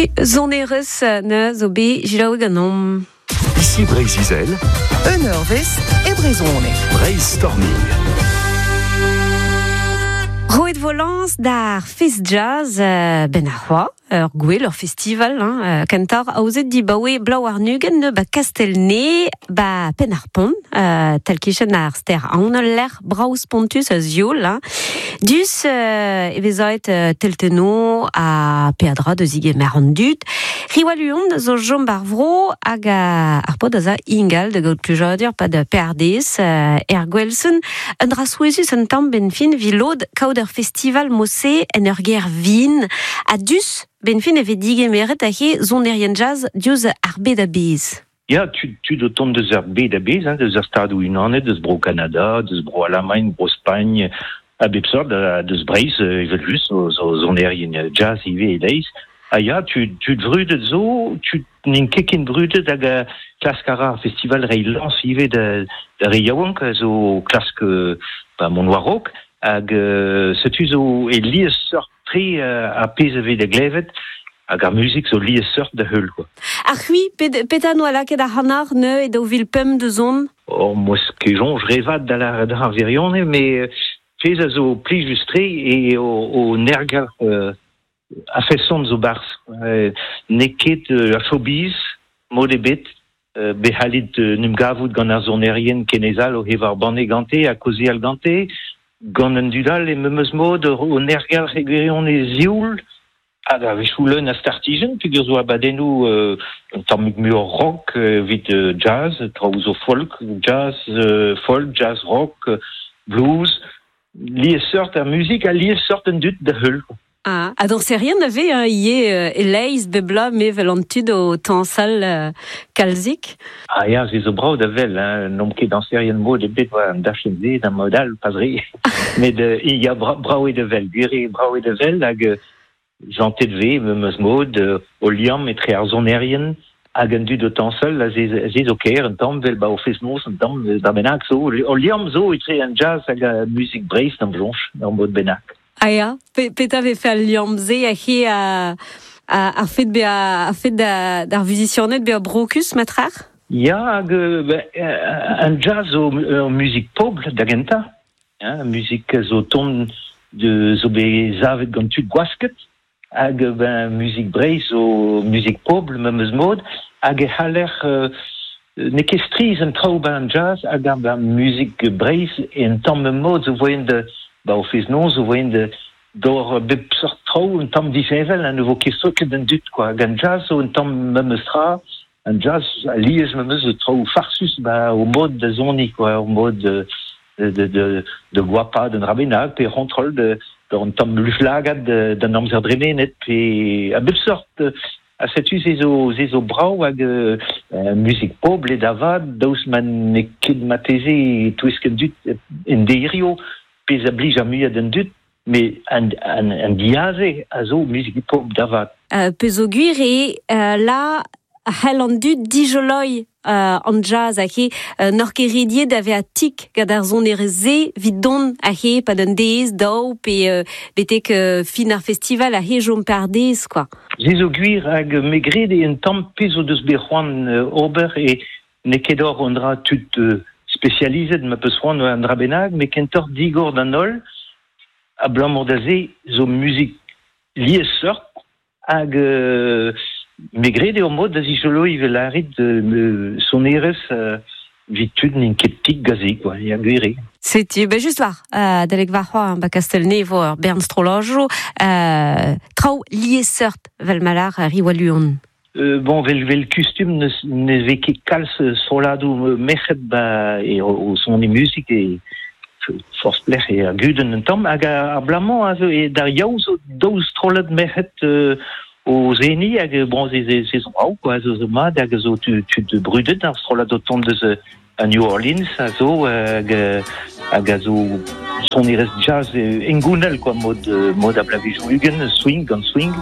Setu sonerezh ne zo bet selaouet ganeomp. Ici Breizh-Izel. Un eurvezh e brezhoneg. Breizh Storming. Roet vo lañs d'ar Fest Jazz ben ar c'hoa, ur gwel, ur festival, hein, kentoc'h aozet dibaoe bloaz warn-ugent ba Kastell-Nez, ba Penn-ar-Pont, tal-kichen ar stêr Aon, ul lec'h brav spontus a zioul. Hein. Dus e vez aet teltennoù ha peadra da zigemer an dud. Riwal zo chom bar vro hag ar paotr a za ingal da gaout plijadur pad perdez er Gwelsen. Un dra souezhus un tamm benn fin evit lod kaout ur festival mod-se en ur gêr vin. Ha dus benn fin e vez digemeret he sonerien jazz diouzh ar bed a-bezh. Ya, tud o tont deus ar bed a-bezh, hein, deus ar Stadoù-Unanet, deus Bro-Kanada, deus Bro-Alamagn, Bro-Spagn, a bep sort, deus Breizh, evel-just, zo sonerien jazz ivez e-leizh. Ha ya, tud vrudet zo, tud n'int ket ken brudet hag klask a ra ar festival reiñ lañs ivez da re yaouank a zo klask ba, mont war-raok. Hag setu zo e liesseurt-tre ar pezh a vez da glevet hag ar muzik zo liesseurt da heul, quoi. Ha c'hwi, petra noa lakaet ac'hanoc'h neuze e 2005 da zont? Oh, 'm eus ket soñj re vat da lâret ar wirionez, met pezh a zo plijus-tre eo o nergelc'h a-feson zo 'barzh. N'eo ket ar showbiz, mod ebet. Bet c'hallit 'n em gavout gant ar sonerien kenezal o evañ banne gante ha kaozeal gante. Gant an dud all e memes mod o nergelc'h e gwirionez sioul hag a-wechoù leun a startijenn peogwir zo abadennoù un tammig muioc'h rock evit jazz, traoù zo folk, jazz, folk, jazz rock, blues. Liesseurt ar muzik ha liesseurt an dud da heul. Ah, ha dañserien a vez hein, ivez e-leizh bep bloaz mevel an tud o tañsal kalzik. Ah ya, se zo brav da wel, hein. N'omp ket dañserien mod ebet war an dachenn-se da mod all, pas re. Met ya, brav eo da wel, gwir eo brav eo da wel hag Jantet 'vez memes mod o liamm etre ar sonerien hag an dud o tañsal ha se zo kaer un tamm 'vel 'ba o fest-noz un tamm da bennak zo. Ul liamm zo etre an jazz hag ar muzik Breizh d'am soñj ur mod bennak. Ah ya, petra 'vefe al liamm-se aze ar fed bezañ ar fed d'ar vuzisianed bezañ brokus matrec'h? Ya hag an jazz zo ur muzik pobl da gentañ. Muzik zo tont zo bet savet gant tud gwasket hag ben muzik Breizh zo muzik pobl memes mod hag e c'haller n'eo ket strizh an traoù 'ba an jazz hag ar muzik Breizh en tamm memes mod zo voaien da ba o fest-noz zo voaien da d'ober bep seurt traoù un tamm disheñvel ha ne vo ket soket an dud quoi hag an jazz zo un tamm memes tra An jazz alies memes zo traoù farsus ba o mod da soniñ quoi, o mod de de de de goapaat un dra bennak pe c'hontrol de un tamm luflagad d'an amzer dremenet pe a bep sort. Ha setu se zo se zo brav hag muzik pobl eo da vat daoust ma n'eo ket marteze e-touesk an dud en deirio pezh a blij ar muiañ d'an dud met an, an, an diaze a zo muzik pobl da vat. Peogwir eo la c'hell an dud dijoloiñ an jazz hag he n'oc'h ket rediet da vezañ tik gant ar sonerezh-se evit dont aze pad un deiz, daou pe betek fin ar festival aze chom par-dez quoi. Se zo gwir hag me gred eo un tamm pezh o deus bet c'hoant ober e n'eo ket oc'h un dra tud spesializet ma peus c'hoant un dra bennak met kentoc'h digor d'an holl abalamour da se zo muzik liesseurt hag me gred eo mod da zijoloiñ evel lârit sonerezh evit tud n'int ket tik gaze quoi, ya gwir eo. Setu, ben just war, adalek warc'hoazh ba Kastell-Nez vo ur bern strollajoù, traoù liesseurt 'vel ma lâr Riwaluon. Bon, vel kustum ne vez ket kalz strolladoù merc'hed ba e o soniñ muzik e forzh pelec'h eo ar gudenn un tamm hag ar bloaz-mañ a zo e d'ar Yaou zo daou strollad merc'hed o seniñ hag bon se zo brav quoi zo mat hag zo tud brudet ar strollad o tont deus a New Orleans a zo hag hag a zo sonerezh jazz hengounel quoi mod mod a bloavezhioù 20 swing gant swing.